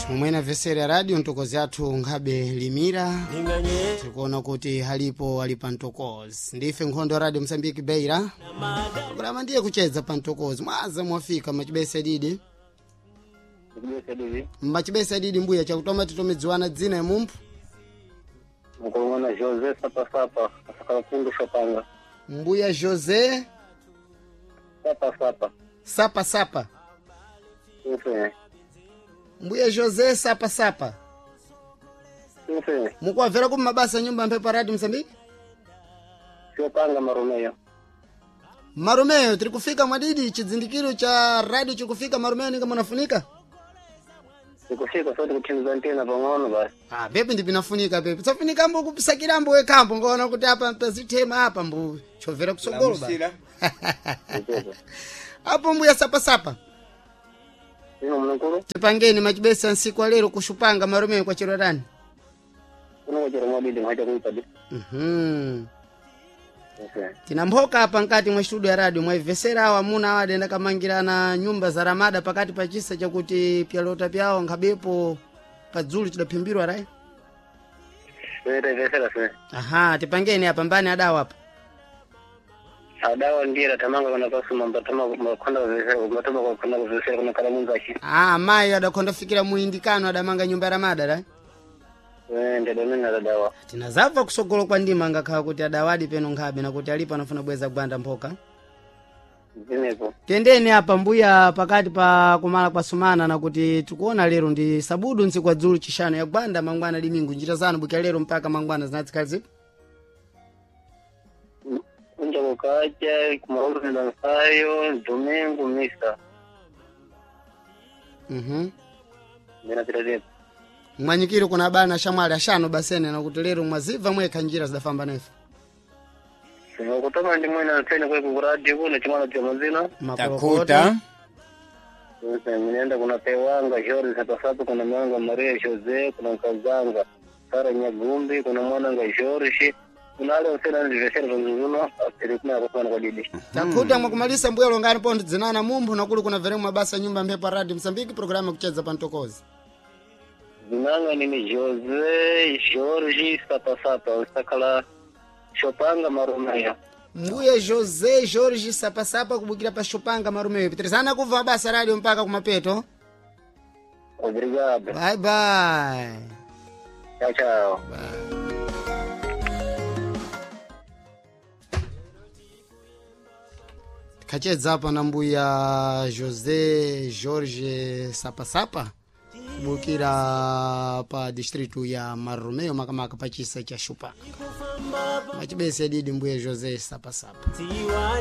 Momwena vesera ya radio ntokozi athu nkhabe limira tikuona kuti halipo ali pa ntokozi. Ndife nkhondo ya Radio Msambiki Beira, programa ndiye kucheza pa ntokozi. Mwaza mwafika machibesa didi, machibesa didi mbuya chakutoma titomedziwana dzina ya mumphu. Mukulungana José Sapasapa asakala kundu Shopanga. Mbuya José Sapasapa. Sapa Sapa. Sim. Mbuya José Sapa Sapa. Sim. Mukuwabvera ku mabasa nyumba mphepo Radio Msambiki. Shopanga Marumeyo. Marumeyo tiri kufika mwadidi, chidzindikiro cha radio chikufika Marumeyo ninga munafunika. Tikufika soti kuthindiza ntena pang'ono basi. Ah, pepe ndipinafunika pepe. Tsafunika kupisakirambo wekambo ngoona kuti apa pazithema apa mbu chovera kusogolo ba. Lamusila. Apo mbuya Sapa Sapa. Ino mnukuru Tipangeni machibesa nsiku alero kushupanga Marumeyo kwa chero rani. kuno kuchera mwadidi mwacha kuipa di. Sim. Tina mphoka apa nkati mwa studio ya radio mwaivesera awo amuna awo adenda kamangirana nyumba za ramada pakati pa chisa chakuti pyalota pyawo nkhabepo padzulu chidaphimbirwa rai. Sere vesera se. Aha, tipangeni apa mbani adawo apa. Adawa ndira tamanga kuna pasuma mbatama makonda vesera mbatama kwa konda vesera kuna kala mungachi. Ah, mayi adakhonda fikira muindikano adamanga nyumba ya ramada rai. Nde domina adawa. Tinazabva kusogolo kwa ndima ngakhala kuti adawadi peno nkhabe nakuti alipo anafuna bweza gwanda mphoka. Zinepo. Tendeni apa mbuya pakati pa kumala kwa sumana nakuti tikuona lero ndi sabudu ntsiku kwa dzulu chishanu ya gwanda mangwana limingu njira zanu bukya lero mpaka mangwana zinatsikali zipo. Kunja kukacha kumarondo ndansayo domingo misa. Ndinapita zipo. Mwanyikiro kuna bana shamwali ashano basene nakuti lero mwazibva mwekha njira zidafamba nefe. Kutoma ndi mwina tena kwa kuradio kuna chimwana cha mazina. Takuta. Mnaenda kuna Pewanga Jorge Sapasapa, kuna Mwanga Maria Jose, kuna Nkazanga Sara Nyagumbi, kuna Mwananga Jorge, kuna ale usena ndivesera vanzuzuno apere kuna kwa kwa didi. Takuta mwakumalisa mbuya longani pondo dzinana mumphu nakuli kuna veremwe mabasa nyumba mphepo ya Radio Msambiki programu kucheza pa ntokozi. Zinanga nini Jose Jorge Sapasapa usakala Shopanga Marumeyo. Mbuya José Jorge Sapasapa kubukira pa Shopanga Marumeyo. Pitirizana kubva mabasa radio mpaka kumapeto. Obrigado. Bye bye. Tchau, tchau. Tikhachedza apa na mbuya José Jorge Sapasapa kubukira pa distritu ya Marumeo makamaka pa chisa cha Shopanga. Machibese didi mbuya José Sapasapa. Tiwa